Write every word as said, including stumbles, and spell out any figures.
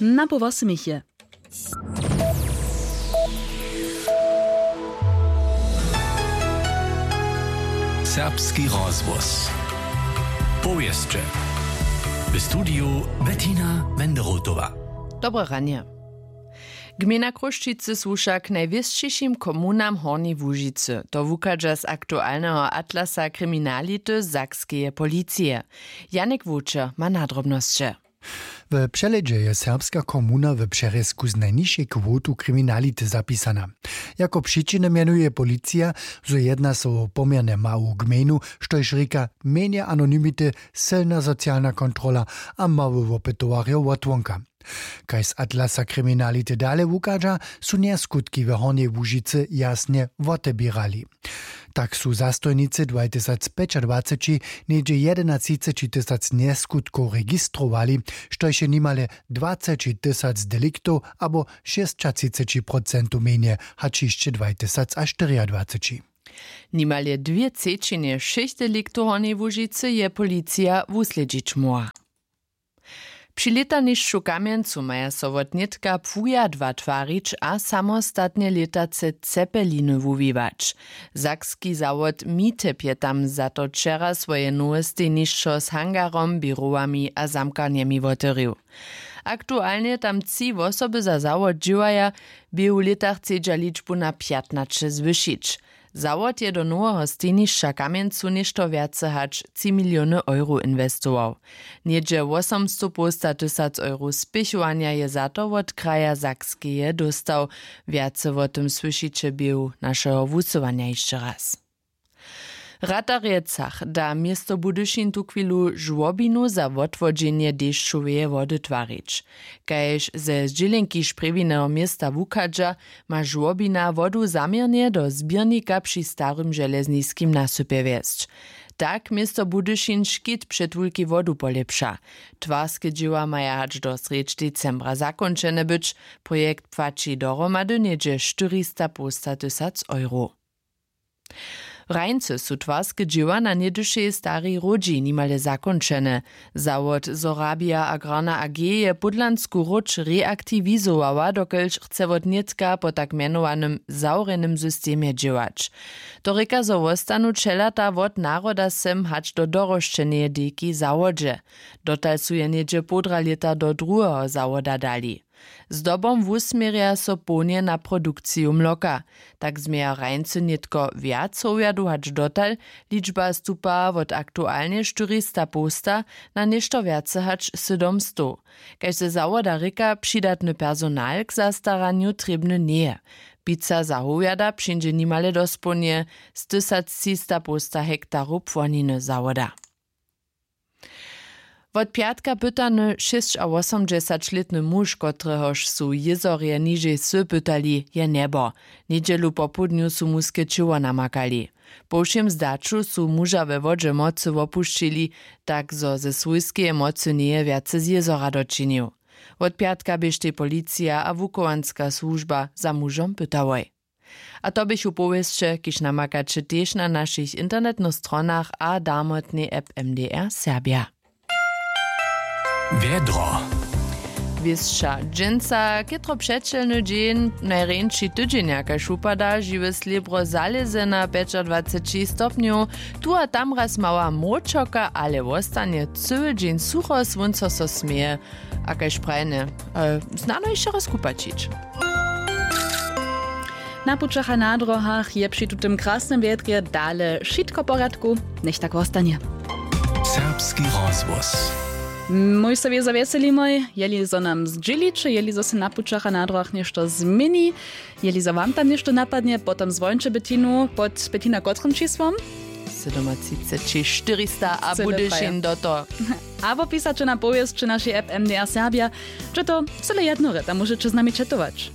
Na poł wosomich je. Serbski rozhłos. Powěsće. W studiju Bettina Wenderotowa. Dobre ranje. Gmejna Chrósćicy słuša k najwěsćišim komunam Hornjeje Łužicy. To wuchadźa z aktualneho atlasa kriminality sakskeje policije. Janik Wowčer ma nadrobnosće. W přehlědźe je serbska komuna w přerězku z najnižšej kwotu kriminality zapisana. Jako přičiny mjenuje policija, zo jedna so wo poměrnje mału gmejnu, štož rěka mjenje anonymity, sylna socialna kontrola a mały wopytowarjo wotwonka. Kaž z atlasa kriminality dale wuchadźa, su njaskutki w Hornjej Łužicy jasnje woteběrali. Tak su zastojnicy dwajtysacpjećadwaceći něhdźe jedenatřiceći tysac njeskutkow registrowali, štož je nimale dwaceći tysac deliktow abo šěsćatřiceći procentow mjenje hač hišće dwajtysacaštyriadwaceći. Nimale dwě třećinje wšěch deliktow w Hornjej Łužicy je policija wuslědźić móhła. Při lětanišću w Kamjencu maja so wot nětka płujadła twarić a samostatnje lětace cepeliny wuwiwać. Sakski zawod Mitep je tam za to wčera swoje nowe stejnišćo z hangarom, běrowami a zamkarnjemi wotewrił. Aktualnje tam tři wosoby za zawod dźěłaja, bě w lětach chcedźa ličbu na pjatnaće zwyšić. Zawod je do noweho stejnišća w Kamjencu něšto wjace hač tři miliony euro inwestował. Něhdźe wosomstopołstatysac euro spěchowanja je za to wot kraja Sakskeje dóstał. Wjace wo tym słyšiće běhu našeho wusyłanja hišće raz. Ratarjecach da město Budyšin tuchwilu žłobinu za wotwodźenje dešćoweje wody twarić. Kaž ze zdźělenki šprjewineho města wuchadźa, ma žłobina wodu zaměrnje do zběrnika při starym železniskim nasypje wjesć. Tak město Budyšin škit před wulkej wodu polěpša. Twarske dźěła maja hač do srjedź decembra zakónčene być. Projekt płaći dohromady něhdźe štyristapołstatysac euro. W Hrańcy su twarske dźěła na něhdyšej starej hródźi nimale zakónčene. Zawod Sorabia Agrarna A G je pódlansku hródź reaktiwizowała, dokelž chce wot nětka po tak mjenowanym zawrjenym systemje dźěłać. To rěka, zo wostanu ćelata wot naroda sem hač do dorosćeneje dejki w zawodźe. Dotal su je něhdźe połdra lěta do druheho zawoda dali. Zdobom wusměrja so połnje na produkciju mloka. Tak změja Hrańcy nětko wjac howjadow hač dotal. Ličba stupa wot aktualnje štyristapołsta na něšto wjace hač sydomstow. Kaž ze zawoda rěka, přidatny personal k zastaranju trěbny njeje. Pizza za howjada přińdźe nimale dospołnje z tysactřistapołsta hektarow płoniny zawoda. Wot pjatka pytany šěsćawosomdźesaćlětny muž, kotrehož su jězorje nižej wsy pytali, je njebo. Njedźelu popołdnju su muske ćěło namakali. Po wšěm zdaću su muža we wodźe mocy wopušćili, tak zo ze swójskeje mocy njeje wjace z jězora dočinił. Wot pjatka běštej policija a wuchowanska słužba za mužom pytałoj. A to běchu powěsće, kiž namakaće tež na našich internetnych stronach a darmotnej app M D R Serbia. Wjedro. Wěsća dźensa chětro přećelny dźeń, najrjeńši tydźenja, kaž wupada, žiwe slěbro zalěze na pjećadwaceći stopnjow. Tu a tam raz mała mróčoka, ale wostanje cyły dźeń sucho, słónco so směje. A kaž prajene, e, snano hišće raz kupaćić. Na pućach a na dróhach je při tutym krasnym wjedrje dale wšitko w porjadku. Njech tak wostanje. Serbski rozhłos. Mój so wězo wjeselimoj, jeli zo nam zdźěliće, jeli zo se na pućach a na dróhach něšto změni, jeli zo wam tam něšto napadnje, potom zwonče Betinu pod Betina kotrym čisłom? Sydomatřiceći štyrista a Budyšin do to. Abo pisaće na powěsće našej app M D R Serbia. Če to cyle jednore, tam móžeće z nami četować.